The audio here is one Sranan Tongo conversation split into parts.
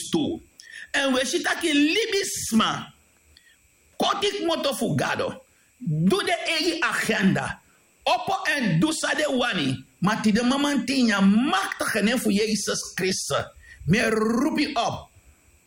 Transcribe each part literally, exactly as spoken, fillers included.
tu. Èn wi e si taki libisma koti kmoto fu Gado, du den eigi agenda, opo èn du san den wani. Ma tide mamanten ini a maktige nen fu Yesus Kristus, mi e roepi op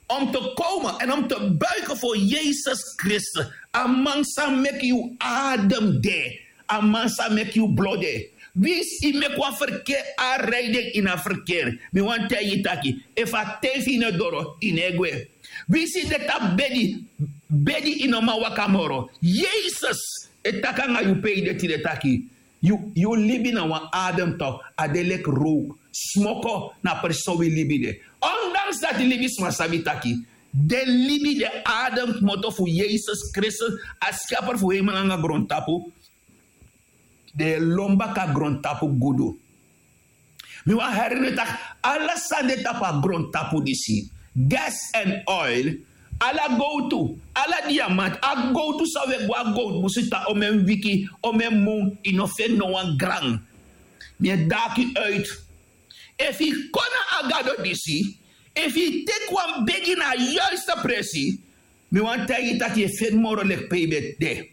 om te komen en om te buigen voor Yesus Kristus. A man sa meki yu adem de, a man sa meki yu blo de. Winsi yu meki wan verkeer aanrijding ini a verkeer, mi wani taigi yu taki, efu a ten fu yu no e doro, yu no e gwe. Winsi yu de tapu bedi, bedi yu no man waka moro, Yesus e taki nanga yu pe yu de tide taki, yu yu libi na wan adem tok, a de leki rowk, smoko. Na presi so wi libi de. Ondanks dati libisma sabi taki den libi, den adem kmoto fu Yesus Kristus, a skeper fu hemel nanga grontapu, den e lon baka grontapu gudu. Mi wani heri unu taki, ala sani de tapu a grontapu disi, gas èn oil, ala gowtu, ala diamanti, a gowtu san wi e go a gowtu busi tan, omen wiki, omen mun, yu no feni no wan gran. Mi e daki uit. Efu yu kon na a Gado disi, efu yu teki wan begi na a yuiste presi, mi wani taigi yu taki yu e feni moro leki pe yu ben de.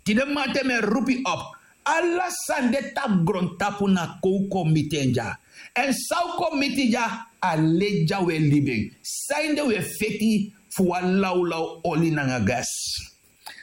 Tide mamanten mi e roepi op, ala sani de tapu grontapu na kon un kon miti en dya. Èn san un kon miti dya, a leti dya un e libi en. Sanede un e feti fu wan lawlaw oli nanga gas?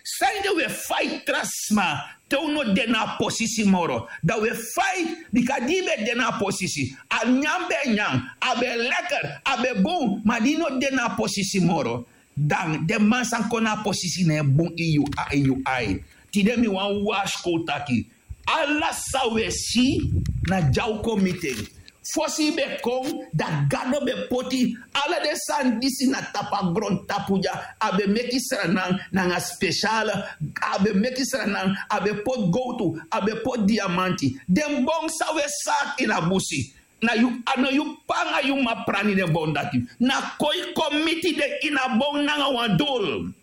Sanede un e faiti tra sma te un no de na a posisi moro? Dan un e faiti, bika di yu ben de na a posisi, a nyan ben e nyan, a ben e lekker, a ben e bun, ma di yu no de na a posisi moro, dan den man san kon na a posisi na e bun ini yu a- ini yu ai. Tide mi wani warskow taki, ala san un e si, na dya un kon miti en. Fosi yu ben kon, dan Gado ben poti ala den sani disi na tapu a grontapu dya. A ben meki sranan nanga spesiale, a ben meki sranan, a ben poti gowtu, a ben poti diamanti. Den bon san un e saki ini a busi, na yu, a no yu p'pa nanga yu m'ma prani den bon dati. Na kon yu kon miti den ini a bon nanga wan dul.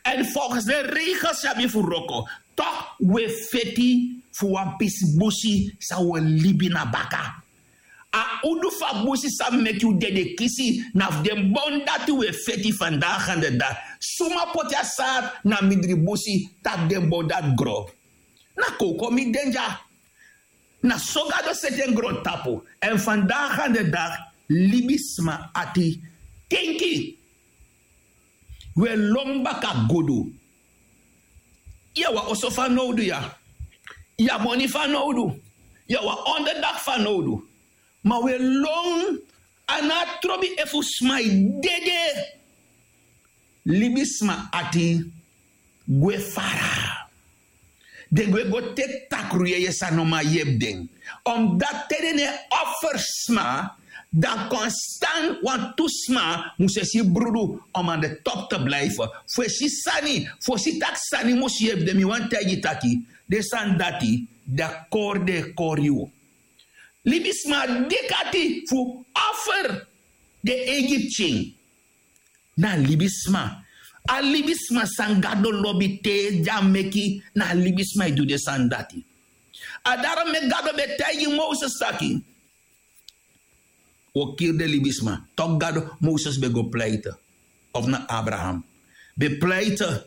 Èn volgens den regels yu abi fu wroko, tok' un e feti fu wan pisi busi san un o libi na baka. A udu fu a busi san meki un dede kisi, na fu den bon dati un e feti fandaga ande dati. Suma poti a saad na mindri busi, taki den bon dati gro. Na kon un kon miti den dya. Na so Gado seti en grontapu. Èn fandaga ande dati, libisma ati, tenki. Un e lon baka gudu. Yu abi wan oso fanowdu ya. Yu abi moni fanowdu. Yu abi wan onderdaki fanowdu. Ma un e lon, a no abi trobi efu sma e dede. Libisma ati gwe fara. Den gwe go teki takru yeye san no man yepi den. Omdati te den no e offer sma, dan konstan wantu sma mus e si brudu om aan de top te blijven. Fu e si sani, fu e si taki sani mus yepi den. Mi wani taigi yu taki, den sani dati, dan kori den e kori yu. Libisma dikati fu offer den eigi pikin. Na libisma. A libisma san Gado lobi te di a meki, na libisma e du den sani dati. A dati meki Gado ben taigi Moses taki, un o kiri den libisma. Tok' Gado, Moses ben go pleite. Of na Abraham ben pleite?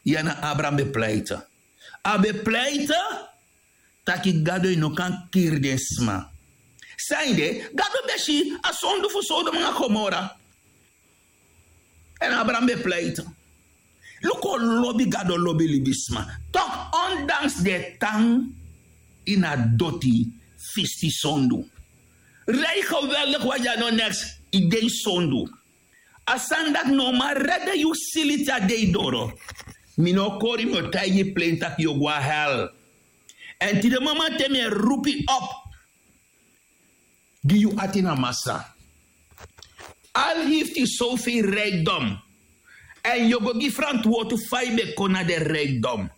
Ya, na Abraham ben pleite. A ben pleite taki Gado, yu no kan kiri den sma. Sanede Gado ben si a sondu fu Sodom nanga Gomora. Èn Abraham ben pleite. Luku on lobi Gado lobi libisma. Tok' ondanks den e tan ini a doti, fisti sondu. Rei geweldig wan dya no neks, yu de ini sondu. A sani dati no man rede yu sili te a dei doro. Mi no o kori yu, mi o taigi yu plein taki yu o go na hel. Èn tide mamanten mi e roepi op gi yu ati na Masra. Al heeft yu zoveel rijkdom, èn yu o go gi frantwortu fa yu ben kon na den rijkdom.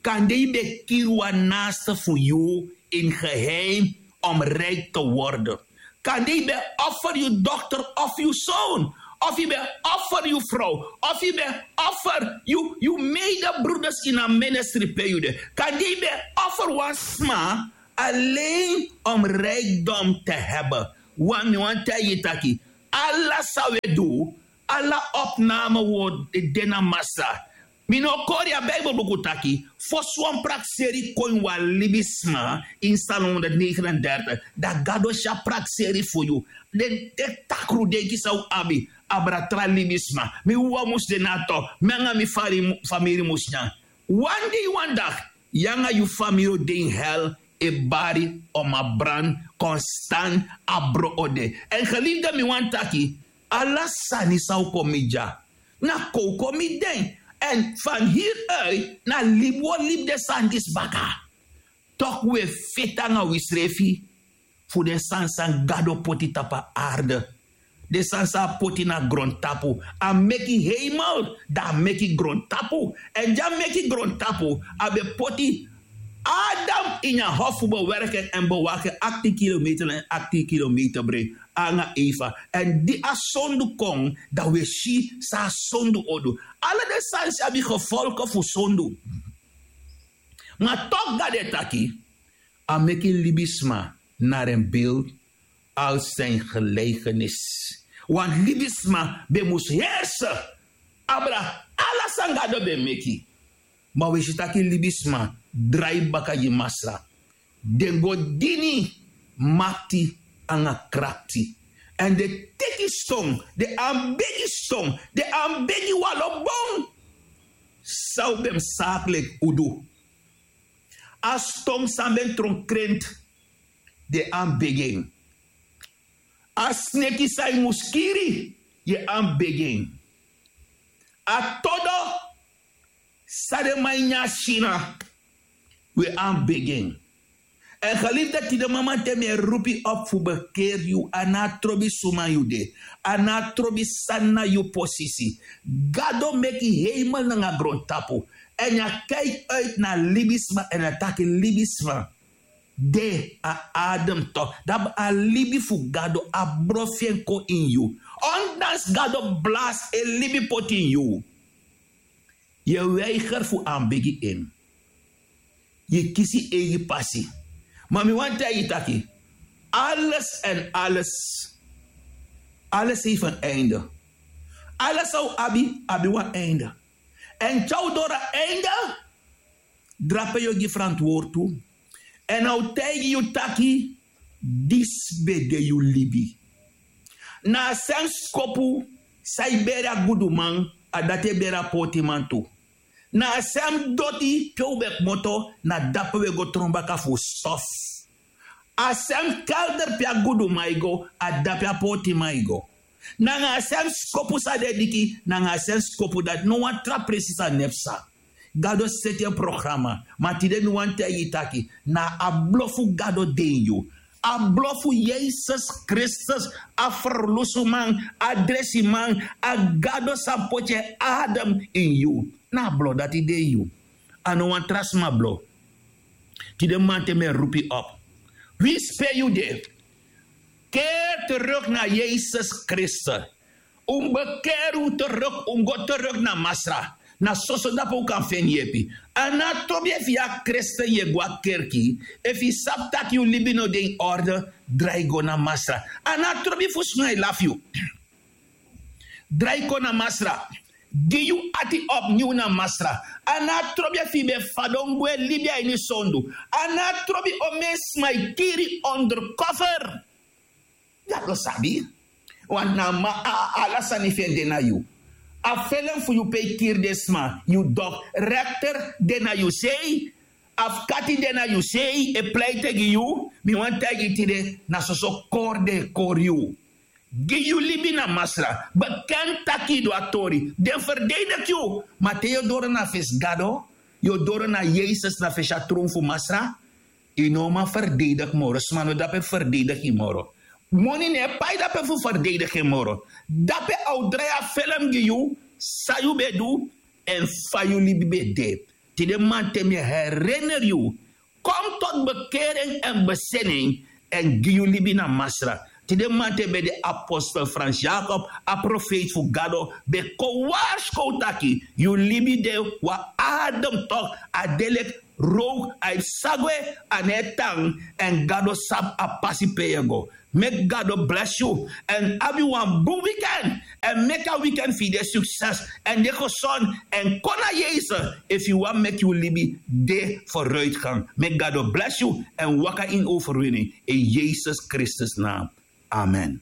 Kande yu ben kiri wan naaste fu yu in geheim om rijk te worden. Kande yu ben offer yu dochter of yu zoon, of yu ben offer yu vrouw, of yu ben offer yu yu medebroeders in a ministry pe yu de. Kande yu ben offer wan sma alleen om rijkdom te hebben. Want mi wani taigi yu taki, Ala san wi e du, ala opname word e de na Masra. Mi no kori a Bijbel buku taki fosi wan prakseri kon ini wan libisma. Ini Psalm honderdnegenendertig, dan Gado si a prakseri fu yu. Den takru denki san wi abi, abra tra libisma. Mi wawan mus de na a top, mi nanga mi famiri mus nyan. Wan dei wan dagi yu nanga yu famiri o de ini hel, e bari, o man brani, konstan, a bron o de. Èn geliefde, mi wani taki ala sani san o kon miti dya, na kon o kon miti den. Èn van hieruit na libi wi o libi den sani disi baka. Toku wi e feti nanga wisrefi fu den sani san Gado poti tapu a arde. Den sani san a poti na grontapu. A meki heimel, dan a meki grontapu. Èn di a meki grontapu, a ben poti Adam ini a hof fu bewerken èn bewaki en, aktin kilometer en, aktin kilometer brei, anga Eva. Èn di a sondu kon, dan wi e si san a sondu o du. Ala den sani disi abi gevolgen fu sondu. Ma toch Gado e taki, a meki libisma naar en beeld, als zijn gelijkenis. Want libisma ben mus heersen, abra ala san Gado ben meki. Ma wi e si taki libisma drai baka gi Masra. Den go dini makti anga krakti. Èn den teki ston, den anbegi ston, den anbegi wan lo bun. San wi ben mus sakleki fu du? A ston san ben tron krenti, den anbegi en. A sneki san yu mus kiri, yu e anbegi en. A todo san den man e nyan sina, wi e anbegi en. Èn geliefde, tide mamanten mi e roepi op fu bekeri yu, a no a trobi suma yu de, a no a trobi san na yu posisi. Gado meki heimel nanga grontapu. Èn a kaiki uit na libisma èn a taki libisma de, a adem toch. Dan a libi fu Gado, a bron fu en kon ini yu. Ondanks Gado blasi en libi poti ini yu, yu e weiger fu anbegi en. Yu e kisi eigi pasi. Ma mi wani taigi yu taki, alles en alles, alles heeft een einde. Alles san wi abi, abi wan einde. Èn te a o doro a einde, drape yu o gi frantwortu. Èn a o taigi yu taki, disi ben de yu libi. Na a sem skopu san e beri a guduman, a dati e beri a portiman tu. Na a sem doti pe un ben kmoto, na dape un e go tron baka fu stof. A sem kelder pe a guduman e go, a dape a portiman e go. Nanga a sem skopu san den e diki, nanga a sem skopu dati, no wan tra presi sa ne psa. Gado seti en programa. Ma tide mi wani taigi yu taki, na a blo fu Gado de ini yu. A blo fu Yesus Kristus, a ferlusuman, a dresiman, a Gado san poti en adem ini yu. Na a blo dati de ini yu. A no wan tra sma blo. Tide mamanten mi e roepi op. Winsi pe yu de, keri teruk na Yesus Kristus. Un mus bekeri un teruk, un mus go teruk na Masra. Na soso dape un kan feni yepi. A no a trobi efu yu a kristen, yu e go a kerki. Efu yu sabi tak' yu libi no de ini orde, drai go na Masra. A no a trobi fu sma e lafu yu. Drai kon na Masra. Gi yu ati opnieuw na Masra. A no a trobi efu yu ben fadon gwe libi a ini sondu. A no a trobi omeni sma e kiri ondercover. Gado sabi. Want na a man, a, ala sani fu en de na yu. A felem fu yu pe yu kiri den sma, yu dok, rechter de na yu sei, afkati de na yu sei, e pleite gi yu. Mi wani taigi yu tide, na soso kori den e kori yu. Gi yu libi na Masra. Bekenti tak' yu du a tori. Den ferdedigi yu. Ma te yu o doro na fesi Gado, yu o doro na Yesus na fesi a tron fu Masra, yu no o man ferdedigi moro. Sma no de dape fu ferdedigi yu moro. Moni no e pai dape fu ferdedigi en moro. Dape a o drai a felem gi yu, san yu ben du, èn fa yu libi ben de. Tide mamanten mi e herinner yu. Kom tot bekering en bezinning, èn gi yu libi na Masra. Tide mamanten ben de apostel Frans Jacob, a profeiti fu Gado, ben kon warskow taki, yu libi de wan adem toch, a de leki rook, a e psa gwe, a no e tan, èn Gado sabi a pasi pe yu e go. Meki gado blesi yu èn abi wan bun weekend. Èn meki a weekend fu yu de sukses èn de gesond èn kon na jeses efu yu wani meki yu libi de foruitgang. Meki gado blesi yu èn waka ini overwini. In jeses kristus naam. Amen.